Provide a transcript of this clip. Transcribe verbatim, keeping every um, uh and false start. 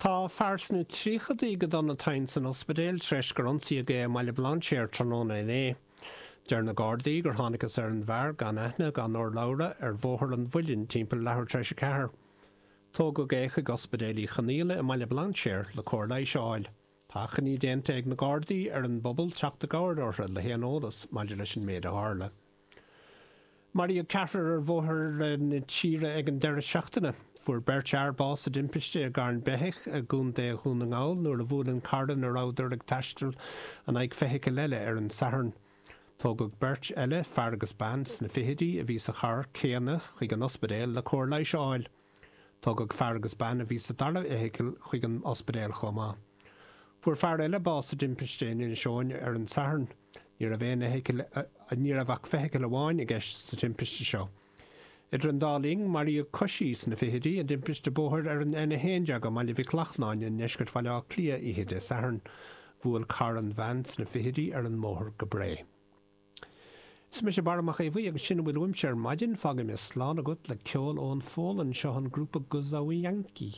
Tá fear sna tríochaidí go dona tinn san ospidéal tar éis gur ionsaíodh é i mBaile Bhlainséir tráthnóna inné. Deir na Gardaí gur thángthas ar an bhfear gan aithne gan urlabhra ar Bhóthar an Mhuilinn timpeall leathuair tar éis a ceathair. Tógadh é chuig Ospidéal Uí Chonghaile i mBaile Bhlainséir le cóir leighis a fháil. Tá achainí déanta ag na Gardaí ar an bpobal teacht i gcabhair orthu le haon eolas maidir leis an méid a tharla. Maraíodh ceathrar ar bhóithre na tíre ag an deireadh seachtaine. Fuair beirt fhear bás i dtimpiste i gCarn Beithigh i gContae Dhún na nGall nuair a bhuail an carr ina rabhadar ag taisteal in aghaidh feithicil eile ar an Satharn. Tógadh beirt eile, fear agus bean sna fichidí, a bhí sa charr céanna chuig an ospidéal le cóir leighis a fháil. Tógadh fear agus bean a bhí sa dara feithicil chuig an ospidéal chomh maith. Fuair fear eile bás i dtimpiste in Inis Eoghain ar an Satharn. Ní raibh aon fheithicil, ní raibh ach feithicil amháin i gceist sa timpiste seo. Idir an dá linn, maraíodh coisí sna fichidí i dtimpiste bóthair ar an N a haon déag i mBaile Mhic Lochlainn i ndeisceart Bhaile Átha Cliath oíche Dé Sathairn. Bhuail carr an bhean sna fichidí ar an mbóthar go Bré. Is mise Barra Mac Aodha Bhuí agus sin a bhfuil uaimse ar maidin. Fágfaidh mé slán agat le ceol ón Pholainn. Seo an grúpa Guzawianki.